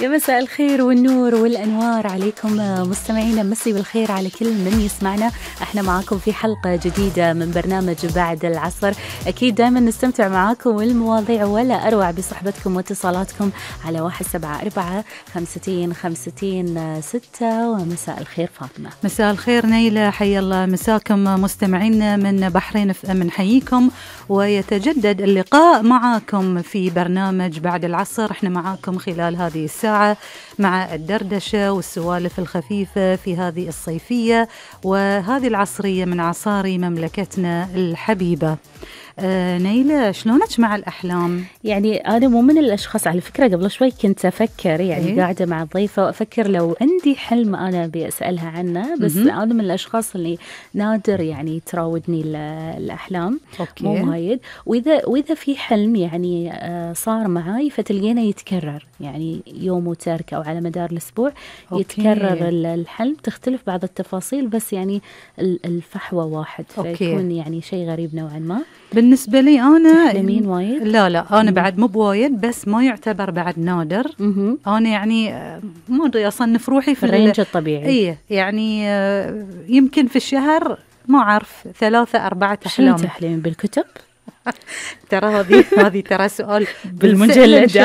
يا مساء الخير والنور والأنوار عليكم مستمعينا، مسي بالخير على كل من يسمعنا. احنا معاكم في حلقة جديدة من برنامج بعد العصر. أكيد دائما نستمتع معاكم والمواضيع ولا أروع بصحبتكم واتصالاتكم على 174-50-50-6. ومساء الخير فاطمة. مساء الخير نيلة، حي الله مساكم مستمعينا من بحرين نحييكم، ويتجدد اللقاء معاكم في برنامج بعد العصر. احنا معاكم خلال هذه الساعة مع الدردشة والسوالف الخفيفة في هذه الصيفية وهذه العصرية من عصاري مملكتنا الحبيبة. نيلة، شلونك مع الأحلام؟ يعني أنا مو من الأشخاص، على فكرة قبل شوي كنت أفكر يعني قاعدة مع الضيفة وأفكر لو عندي حلم أنا بأسألها عنه، بس أنا من الأشخاص اللي نادر يعني تراودني الأحلام. أوكي. مو وايد، وإذا في حلم يعني صار معاي فتلقينا يتكرر، يعني يوم وترك أو على مدار الأسبوع. أوكي. يتكرر الحلم، تختلف بعض التفاصيل بس يعني الفحوى واحد. أوكي. فيكون يعني شيء غريب نوعا ما. بالنسبة لي أنا تحلمين وايد؟ لا أنا بعد مو بوايد، بس ما يعتبر بعد نادر. أنا يعني ما أدري أصنف روحي في الرينج الطبيعي. إيه يعني يمكن في الشهر ما أعرف 3-4 أحلام. شنو تحلمين بالكتب؟ ترى هذه ترى سؤال بالمجلد.